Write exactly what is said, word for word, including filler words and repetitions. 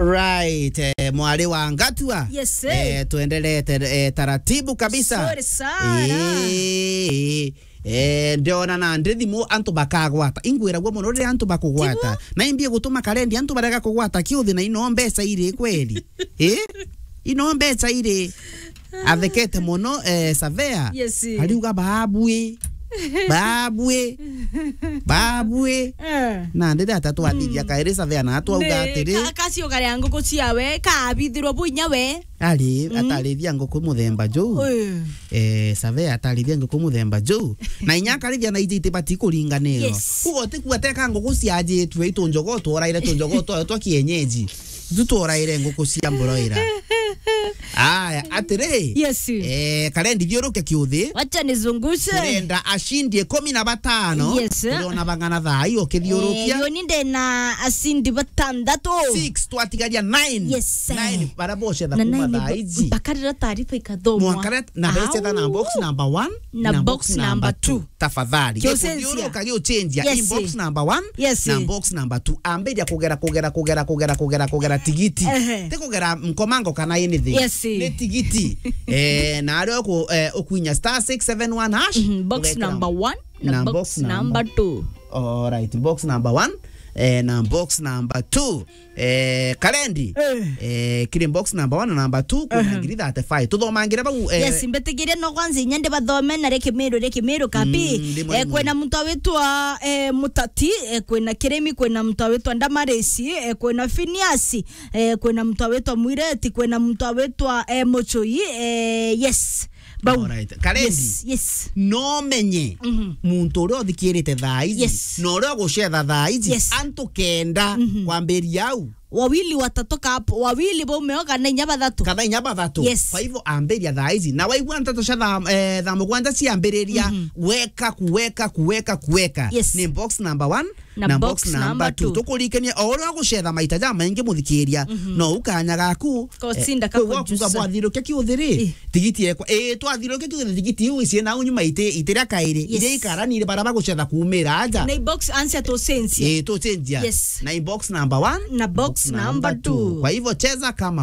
Right, eh, mwari wa Ngatua. Yes, eh. Eh, tuendelee te-, eh, taratibu kabisa. Sorry sana. Eh, eh, eh, ndiona na ndi thimu antu bakagwata. Ingwiragua mono riria antu bakugwata. Tibu? Na imbie gutuma karendi antu barega kugwata kiuthi na ino mbeca iri kweli? Eh? Ino mbeca iri? Athekete mono, eh, Savea. Yes. Ariuga, "Babue. Babue. Babue." Eh. Na ndiri atatu athithia kairi Savea na atwauga atiri, ka-, kacio karia nguku ciawe, kabithirwo bu inya we. Ari, mm, atarithia nguku muthemba juu. Eh. Eh, Savea atarithia nguku muthemba juu. Na inya akarithia na iji itibati kuringanirwa. Yes. Kuga utikua teka nguku ciajitwe itunjogo tworaire tunjogo twayo twa kienyeji. Ju tworaire nguku cia broiler. Aya, atiri. Yes. Eh, karendi thiuruke kiuthi. Wacha nizungushe. Turenda ashindi ikumi na batano. Yes. Turiona bang'ana thaa hii ukithiurukia. Eh, yo ni ndena ashindi batandatu. Six, twatigaria nine. Yes. Nine, bara bocetha na kuma nine thaa iji. Mpaka rira taarifa ikathomwa. Mwanka rira, na becetha na box number one, na box number two. Tafadhali. Kiucenjia. Gikuthiuruka giucenjia. Yes. Inbox number one, yes, na box number two. Ambiria kugera, kugera, kugera, kugera, kugera, kugera tigiti. Ehe. Ti kugera nkomango kana anything. Yes. Ni tigiti. Eh, na aria uku-, eh, ukwinya star six seven one hash, mhm, box ugekira number one na box number two. All right, box number one, eh, na box number two. Eh, karendi. Eh. Eh, kiri box number one na number two, kuna, ehe, ngiri thirty-five. Tuthomangire bau, eh. Yes, mbitigirie no kwanza inya ndibathome na ri Kimiru, ri Kimiru kapi. Mm, ndi mwalimu. Eh, kwina muntu awitwa, eh, Mutati, eh, kwina Kirimi, kwina muntu awitwa Ndamarisi, eh, kwina Finiasi, eh, kwina muntu awitwa Mwireti, kwina muntu awitwa, eh, Muchui, eh, yes. Bau. Alright. Karendi. Yes, yes. No menye, mhm, muntu uria uthikirite thaa iji, yes, na uria ugucetha thaa iji, yes, antu kenda, mhm, kwambiria au. Wawili watatu kap-, wawili baume o kana inya bathatu. Kana inya bathatu. Yes. Kwa hivyo ambiria thaa iji. Na waigua nteto cia thaa, eh, thaa mugwanja ciambiriria, mhm, weka, kuweka, kuweka, kuweka. Yes. Ni box number one, na box number two. Tukurikania, o uria ugucetha maita jamaingi muthikiria, mhm, no ukanya gaku, eh, kosinda kwe wakuga kujusha. Bwathirukia kiuthi ri, eh, tigiti ekwa, eh, twathirukia kiuthi tigiti iu icie nau nyuma iti, itiria kairi, yes, iria ikaranire bara bagucetha kumira aja. Na box answer tucenjia. Eh, tucenjia. Yes. Na box number one, na box number two. Kwa hivyo cheza kama